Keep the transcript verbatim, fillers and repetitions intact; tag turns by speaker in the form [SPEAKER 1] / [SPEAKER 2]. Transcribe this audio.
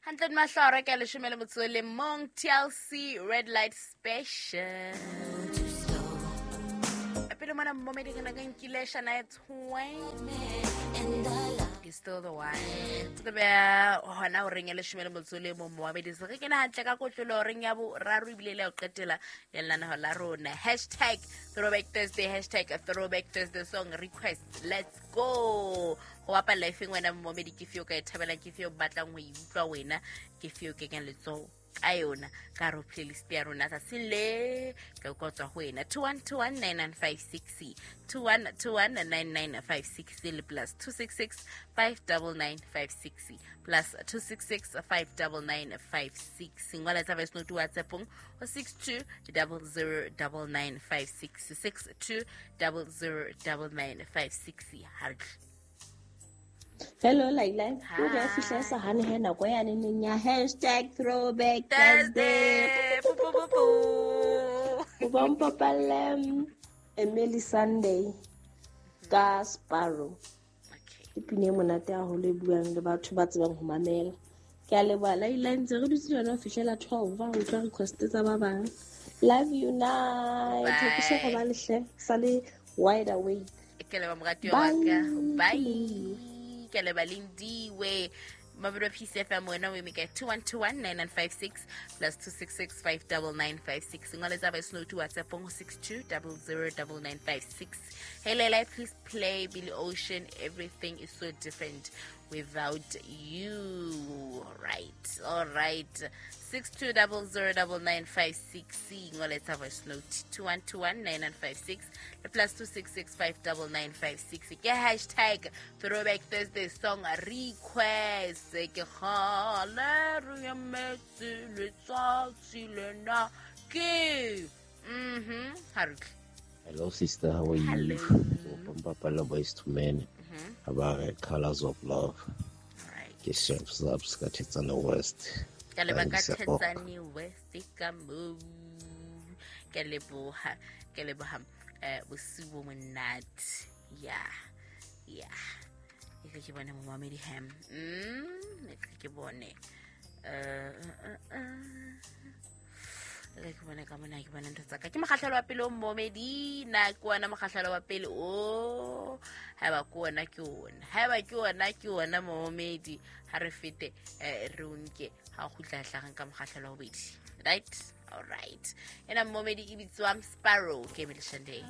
[SPEAKER 1] Hantle mahlo ka leshome le motso le mong, T L C, Red Light Special. Pele mona, momedi, re ne re nkile Shania Twain, is Still the One. Tlo beha hona horeng ya leshome le motso le mong. Moamedi, se re kena hantle ka kotlolo horeng ya boraro, ebile le ya ho qetela ya lenaneho la rona. Hashtag throwback Thursday, hashtag throwback Thursday song request. Let's go. Go bapalla efeng wena, momedi? Ke feo ka e thabelang? Ke feo batlang ho e utlwa wena? Ke feo kenyang letsoho ka yona ka hare ho playlist ya rona tsatsing le? Ka utlwa tswa ho wena. two one two one nine nine five six, two one two one nine nine five six le plus two six six five nine nine five six, plus two six six five nine nine five six. Ngola tsa voice note WhatsAppong ho six two zero zero nine nine five six, six two zero zero nine nine five six. Ha re tle.
[SPEAKER 2] Hello, Laila. Ke re fihla sa hane he nako ya neneng ya hashtag throwback Thursday.
[SPEAKER 1] Thursday. Pu, pu, pu, pu.
[SPEAKER 2] O ba mpapalle Emeli Sandé ka Sparrow.
[SPEAKER 1] Okay.
[SPEAKER 2] Ke pina e monate haholo e buang le batho ba tsebang ho mamela. Ke a leboha, Laila, ntse re dutse jwana ho fihlela twelve ho utlwa request tsa ba bang. Love you, night. Ha ke so
[SPEAKER 1] Bye.
[SPEAKER 2] Robale hle, sale wide awake.
[SPEAKER 1] Ke leba moratuwa wa
[SPEAKER 2] Bye.
[SPEAKER 1] ka. Bye. Ke leba Lindiwe. Mabelo Peace F M, wena o eme kae? two one two one nine nine five six, plus two six six five nine nine five six. Ngola tsa voice note WhatsApp ho six two zero zero nine nine five six. Hey Leila, please play Billy Ocean, "Everything Is So Different Without You." All right. All right. six two zero zero nine nine five six. Ngola tsa voice note two one two one nine nine five six le plus two six six five nine nine five six. Ke hashtag throwback Thursday song request. Ke kgale re emetse letsatsi lena ke mhm ha re tle.
[SPEAKER 3] Hello, sister. How are you?
[SPEAKER 1] Hello.
[SPEAKER 3] Pampapala Boyz two Men.
[SPEAKER 1] Mhm.
[SPEAKER 3] About Colors of Love.
[SPEAKER 1] All right.
[SPEAKER 3] Ke Chef Zabs ka Thetsane West.
[SPEAKER 1] Ka leba ka
[SPEAKER 3] Thanks, Ok.
[SPEAKER 1] Thetsane West ka moo. Ke leboha, ke leboha. eh bosiu bo monate. Ya ya e re ke bone momamedi ham. mm e re ke bone, eh eh, eh. E re ke bone ka mona, ke bone ntho tsa ka. Ke mokgahlelo wa pele o, momedi, na ke wona mokgahlelo wa pele o? Haeba ke ona, ke ona. Haeba ke ona, ke ona, momedi. Ha re fete, eh, re o nke ha o kgutla hlagang ka mokgahlelo wa bobedi. Right, all right. Ena, momedi, e bitswang Sparrow, ke Emeli Sandé.